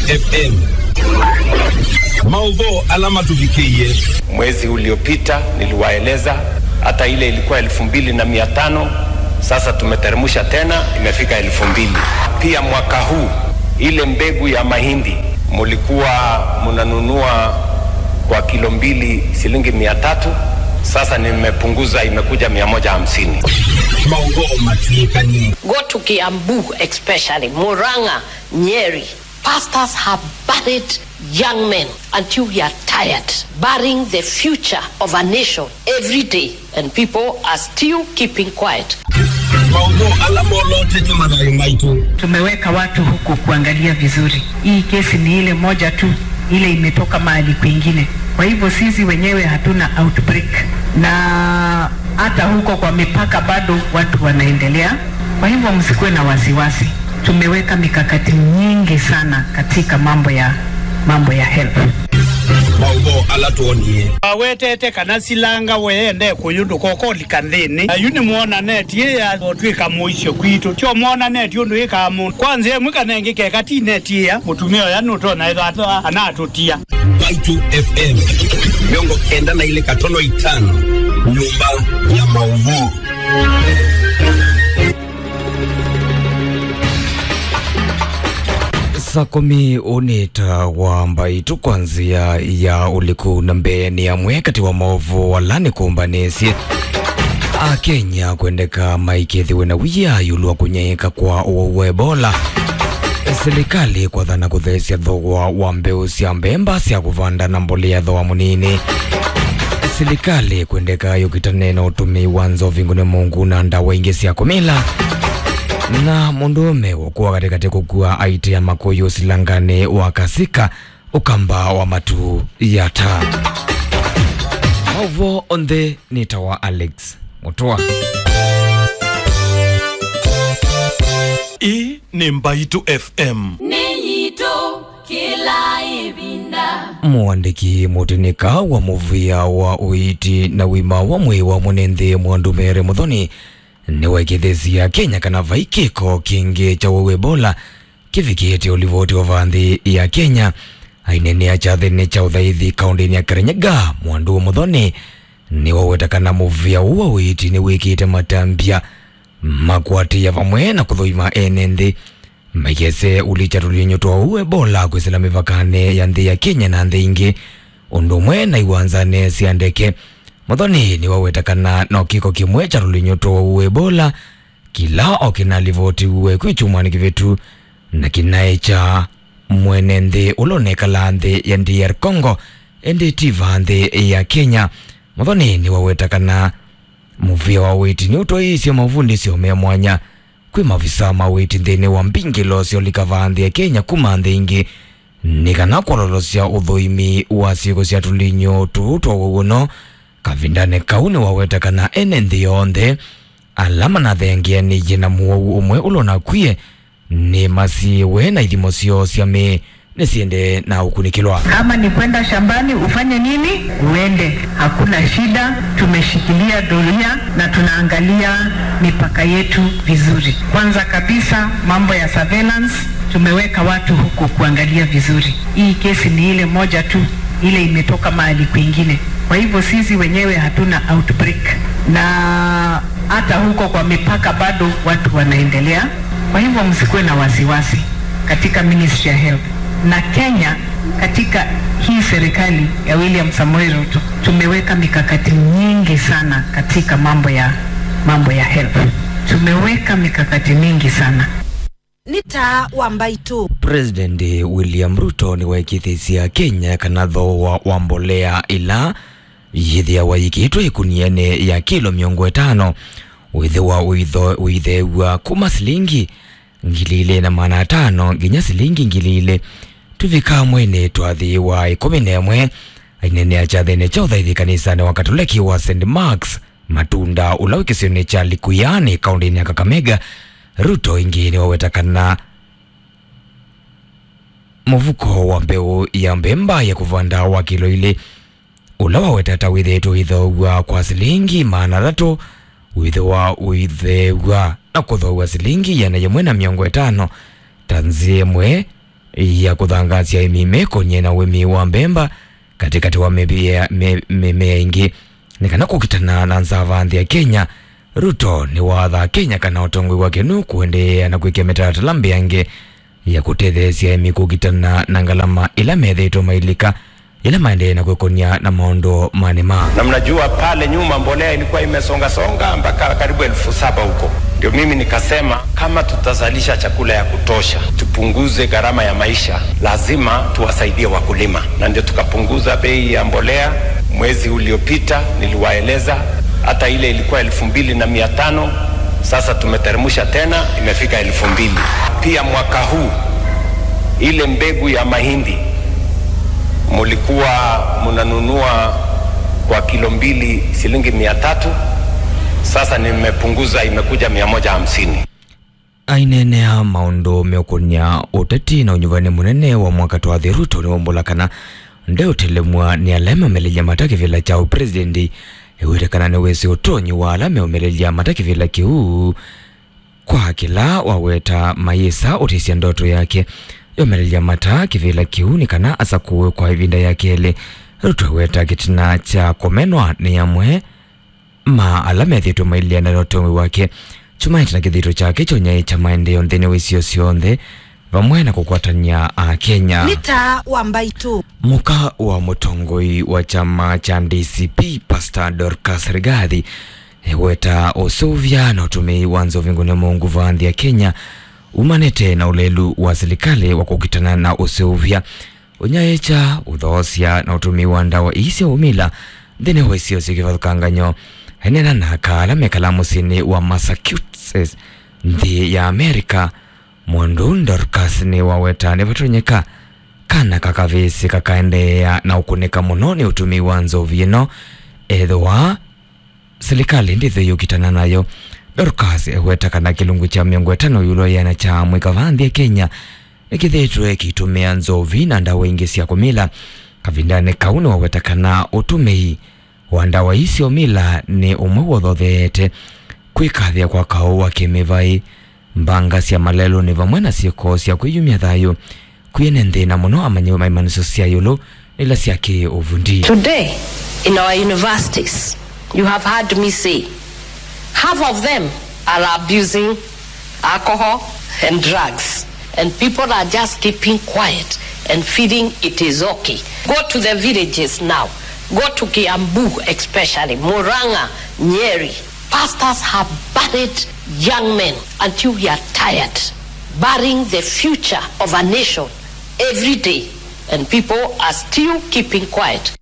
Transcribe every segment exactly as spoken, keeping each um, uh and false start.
F M. Maũvoo ala matũvikĩie. Mwezi uliopita niliwaeleza, hata ile ilikuwa elfu mbili na mia tano, sasa tumeteremsha tena, imefika elfu mbili. Pia mwaka huu, ile mbegu ya mahindi mulikuwa munanunua kwa kilo mbili shilingi mia tatu, sasa nimepunguza, imekuja mia moja hamsini. Maũvoo matw'ĩkanie. Go to Kiambu, especially Murang'a, Nyeri. Pastors have buried young men until we are tired, burying the future of a nation every day, and people are still keeping quiet. Maũvoo ala molotete mathayũ maitũ. Tumeweka watu huko kuangalia vizuri. Hii kesi ni ile moja tu, ile imetoka mahali kwingine. Kwa hivyo sisi wenyewe hatuna outbreak. Na hata huko kwa mipaka bado watu wanaendelea. Kwa hivyo msikuwe na wasiwasi. Tumeweka mikakati nyingi sana katika mambo ya, mambo ya health. Maũvoo ala twonie. Awetete kana silanga we ende kũyũ ndũkokolika nthĩnĩ. Na yu nĩmwona neti ĩya ũtwĩka mũisyo kwitũ. Tyo mwona neti ũndũ ĩkaa mũndũ. Kwa nzĩa ĩmwe kana ĩngĩ keka ti neti ĩya, mũtumĩa ũya nũtonya ĩthatwa anatũtia. Mbaitũ F M, mĩongo kenda na ilĩ katono itano, nyũmba ya maũvoo. Saa kũmi ũnĩta wa Mbaitũ kwa nzĩa ya ũliku, na mbee nĩ amwe katĩ wa maũvoo ala nĩkũmbanĩsye. Akenya kwendeka maikethĩwe na wia ĩũlũ wa kũnyaĩĩka kwa ũwau wa Ebola. Silikalĩ kwathana kũtheesya thogoo wa mbeũ sya mbemba sya kũvanda na mbolea thogoo mũnini. Silikalĩ kwendeka yũkitane na ũtũmĩi wa nzovi, ngũne mũngũ na ndawa ingĩ sya kũmila. Na mũndũũme ũkũa katĩkatĩ kũkua aitea makũyũ silanganĩ wa Kasika, Ũkamba wa matu ya ta. Maũvoo onthe nĩ ta wa Alex Mũtũa. Ĩĩ nĩ Mbaitũ F M. Nĩ yitũ kĩla ĩvinda. Mũandĩki mũtĩnĩka wa mũvĩa wa ũiiti na ũima wa mwĩĩ wa mwene nthĩ Mwandu Mary Muthoni nĩwaĩkĩĩthĩsye Akenya kana vai kĩko kĩngĩ kya ũwau Ebola kĩvikĩte ũlivoti wa va nthĩ ya Kenya. Aineenea kyathĩnĩ kya ũthaithi kaũndĩnĩ ya Kirinyaga, Mwandu Muthoni nĩwaweta kana mũvĩa ũũ wa ũiiti nĩwĩkĩte matambya ma kũatĩĩa vamwe na kũthũima ene nthĩ maikese ũlikya tũlinyũ twa ũwau Ebola kwĩsĩla mĩvakanĩ ya nthĩ ya Kenya na nthĩ ingĩ, ũndũ ũmwe na iwanzanĩ sya ndeke. Muthoni nĩwaweta kana no kĩko kĩmwe kya tũlinyũ twa ũwau Ebola kĩla o kĩnalivotiwe kwĩ kyumwanĩ kĩvĩtu, na kĩnaĩ kya mwene nthĩ ũla ũnekalaa nthĩ ya D R Congo, ĩndĩ ti va nthĩ ya Kenya. Muthoni nĩwaweta kana mũvĩa wa ũiiti nĩũtwaĩĩsye mavundĩsyo me mwanya kwĩ mavisa ma ũiiti nthĩnĩ wa mbingĩlo sya ũlika va nthĩ ya Kenya kuma nthĩ ingĩ, nĩ kana kwololosya ũthũimi wa syĩko sya tũlinyũ tũu twa ũwau ũno. Kavindanĩ kau nĩwaweta kana ene nthĩ yonthe ala manathengeanĩie na mũwau ũmwe ũla ũnakwie nĩmasiĩwe na ithimo syoo sya mĩĩ nĩsiendee na ũkunĩkĩlwa. Kama ni kwenda shambani, ufanye nini? Uende. Hakuna shida, tumeshikilia doria na tunaangalia mipaka yetu vizuri. Kwanza kabisa, mambo ya surveillance, tumeweka watu huko kuangalia vizuri. Hii kesi ni ile moja tu, ile imetoka mahali kwingine. Kwa hivyo sisi wenyewe hatuna outbreak. Na hata huko kwa mipaka bado watu wanaendelea. Kwa hivyo msikuwe na wasiwasi katika Ministry ya Health. Na Kenya katika hii serikali ya William Samoei Ruto tumeweka mikakati nyingi sana katika mambo ya, mambo ya health. Tumeweka mikakati mingi sana. Nĩ taa wa Mbaitũ. President William Ruto nĩwaĩkĩĩthĩsye Akenya kana thooa wa mbolea ĩla yĩthĩawa yĩkĩĩtwe ĩkunianĩ ya kilo mĩongo ĩtano wĩthĩwa ũitho-, ũitheew'a kuma silingi ngili ilĩ na maana atano nginya silingi ngili ilĩ tũvika mweinĩ twathi wa ĩkũmi na ĩmwe. Aineenea kyathĩnĩ kya ũthaithi kanisanĩ wa Katoleki wa Saint Mark's Matunda, ũla wĩ kĩsionĩ kya Likuyani, kaũndĩnĩ ya Kakamega, Ruto ĩngĩ nĩwaweta kana mũvuko wa mbeũ ya mbemba ya kũvanda wa kilo ilĩ, ũla waweta ta wĩthĩĩtwe ũithoow'a kwa silingi maana atatũ, wĩthĩwa ũitheew'a na kũthoow'a silingi ĩana yĩmwe na mĩongo ĩtano, ta nzĩa ĩmwe ya kũthangaasya aĩmi mekonye na ũĩmi wa mbemba katĩkatĩ wa mĩvĩa- mĩ- mĩmea ĩngĩ nĩ kana kũkitana na nzava nthĩ ya Kenya. Ruto nĩwathaa Kenya kana ũtongoi wake nũkũendeea na kwĩkĩa mĩtalatala mbeange ya kũtetheesya aĩmi kũkitana na ngalama ila methĩĩtwe mailika ila maendee na kwĩkonya na maũndũ ma nĩma. Na mnajua pale nyuma mbolea ilikuwa imesonga songa mpaka karibu elfu saba huko. Ndio mimi nikasema kama tutazalisha chakula ya kutosha, tupunguze gharama ya maisha, lazima tuwasaidie wakulima. Na ndio tukapunguza bei ya mbolea. Mwezi uliopita niliwaeleza, hata ile ilikuwa elfu mbili na mia tano, sasa tumeteremsha tena, imefika elfu mbili. Pia mwaka huu, ile mbegu ya mahindi mulikuwa mnanunua kwa kilo mbili shilingi mia tatu, sasa nimepunguza, imekuja mia moja hamsini. Aineenea maũndũ meũkũnĩa ũteti na ũnyuvani mũnene wa mwaka twathi, Ruto nĩwaumbũla kana ndeũtelemw'a nĩ ala meũmelelya mata kĩvĩla kya ũpresident. Ewĩte kana nĩwĩsĩ ũtonyi wa ala meũmelelya mata kĩvĩla kĩu, kwa kĩla waweta mayĩsa ũtĩsya ndoto yake yomelelya mata kĩvĩla kĩu nĩ kana asakũwe kwa ĩvinda ya kelĩ. Ruto eweta kĩtina kya kũmenwa nĩ amwe ma ala methĩĩtwe maileana na ũtongoi wake kyumanĩte na kĩthito kyake kya ũnyaĩĩkya maendeeo nthĩnĩ wa isio syonthe, vamwe na kũkwatany'a Akenya. Nĩ taa wa mbaitũ. Mũka wa mũtongoi wa kyama kya D C P, Pastor Dorcas Rigathi, eweta ũseũvya na ũtũmĩi wa nzovi ngũne mũngũ va nthĩ ya Kenya umanĩte na ũlelu wa silikalĩ wa kũkitana na ũseũvya, ũnyaĩĩkya, ũthoosya na ũtũmĩi wa ndawa ii sya ũmila nthĩnĩ wa isio syĩ kĩvathũkangany'o. Aineena na aka ala mekalaa mũsyĩnĩ wa Massachusetts, nthĩ ya America, mũndũ Dorcas nĩwaweta nĩvatonyeka kana kakavĩsĩ kakaendeea na ũkũnĩka mũno nĩ ũtũmĩi wa nzovi ĩno ethĩwa silikalĩ ndĩthei ũkitana nayo. Dorcas eweta kana kĩlungu kya mĩongo ĩtano ĩũlũ ya ĩana kya amũika va nthĩ ya Kenya nĩkĩthĩĩtwe kĩitũmĩa nzovi na ndawa ingĩ sya kũmila. Kavindanĩ kau nĩwaweta kana ũtũmĩi wa ndawa ii sya ũmila nĩ ũmwe wothotheete kwĩkathĩa kwa kaũ wa kĩmĩvaĩ, mbanga sya malelũnĩ vamwe na syĩko sya kwĩyumya thayũ. Kwĩ ene nthĩna mũno amanyĩw'e ma imanyĩsyo sya ĩũlũ na ila sya kĩ-ũvundi. Today, in our universities, you have heard me say, half of them are abusing alcohol and drugs, and people are just keeping quiet and feeling it is okay. Go to the villages now. Go to Kiambu, especially Murang'a, Nyeri. Pastors have buried young men until we are tired, burying the future of a nation every day, and people are still keeping quiet.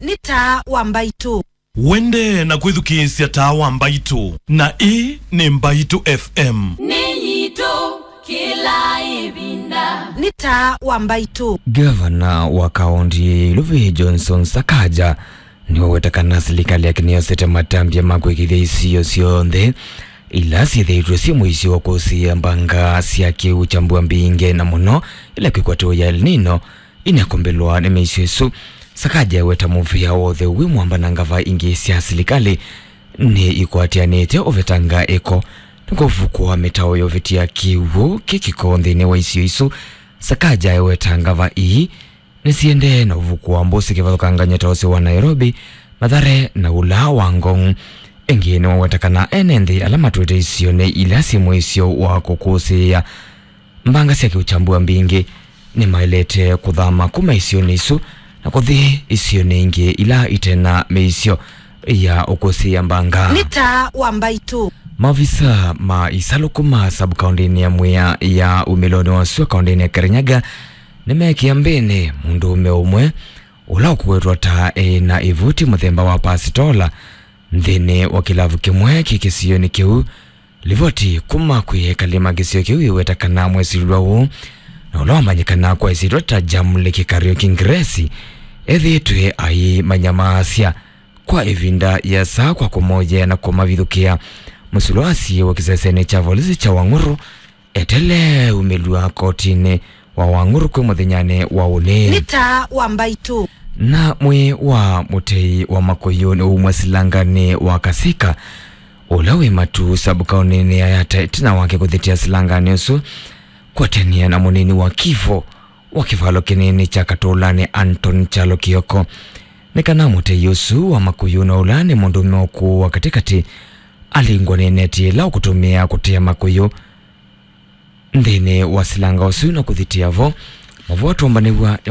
Nĩ taa wa mbaitũ. Wende na kwĩthukĩĩsya taa wa mbaitũ, na ĩĩ nĩ Mbaitũ F M. Nĩ yitũ kĩla ĩvinda. Nĩ taa wa mbaitũ. Gavana wa kaũnti ya Iluvi Johnson Sakaja nĩwaweta kana silikalĩ yake nĩyosete matambya ma kwĩkĩthya isio syonthe ila syĩthĩĩtwe syĩ mũisyo wa kũsĩĩa mbanga sya kĩu kya mbua mbingĩ, na mũno ila kwĩkwatĩwa ya El Nino. Ĩnĩakombelwa nĩ mĩisyo ĩsu, Sakaja eweta mũvĩa wa ũtheu wĩ mwamba na ngava ingĩ sya silikalĩ nĩ ikwatĩanĩte ũvetanga ĩko nĩ kũvukũa mĩtao ya ũvĩtĩa kĩw'ũ kĩ kĩko nthĩnĩ wa isio isu. Sakaja eweta ngava ii nĩsiendee na ũvukũa mbũsĩ kĩvathũkangany'o ta ũsĩ wa Nairobi, Mathare na ũla wa Ngong. Ĩngĩ nĩwaweta kana ene nthĩ ala matwĩte isionĩ ila syĩ mũisyo wa kũkũsĩĩa mbanga sya kĩũkyambua mbingĩ nĩmaĩlĩte kũthama kuma isionĩ isu na kũthi isionĩ ingĩ ila ite na mĩisyo ya ũkũsĩĩa mbanga. Nĩ taa wa mbaitũ. Maovisa ma isalũ kuma sub-kaũndĩnĩ ya Mwea ya umĩlonĩ wa sua kaũndĩnĩ ya Kirinyaga nĩmeekĩa mbĩnĩ mũndũũme ũmwe ũla ũkũwetwa ta e na ĩvuti mũthemba wa pasitola nthĩnĩ wa kĩlavu kĩmwe kĩ kĩsionĩ kĩu. Livoti kuma kwĩ ekali ma kĩsio kĩu iweta kana mwĩsilwa ũũ, na ũla wamanyĩkana kwa ĩsyĩtwa ta Jamley Kĩkario Kĩngiresi, ethĩĩtwe aimanyamaasya kwa ĩvinda yĩasa kwa kũmoyea na kũmavithũkĩa. Mũsilwa asiĩwe kĩsesenĩ kya volisi kya Wang'uru, etelee umĩlw'a kotinĩ wa Wang'uru kwĩ mũthenyanĩ wa ũnĩ. Nĩ taa wa mbaitũ. Na mwĩĩ wa mũtei wa makũyũ nĩwaumwa silanganĩ wa Kasika, ũla wĩ Matuu sub-kaũndĩnĩ ya Yatta, ĩtina wake kũthĩtĩa silanganĩ ũsu kwatania na mũnini wa Kivo wa kĩvalo kĩnini kya Katũlanĩ, Anton Kyalo Kioko, nĩ kana mũtei ũsu wa Makũyũ na ũla nĩ mũndũũme ũkũũ wa katĩkatĩ alingwa nĩ neti ĩla ũkũtũmĩa kũtea Makũyũ nthĩnĩ wa silanga ũsu na kũthitĩa vo. Mavoa tũmbanĩw'a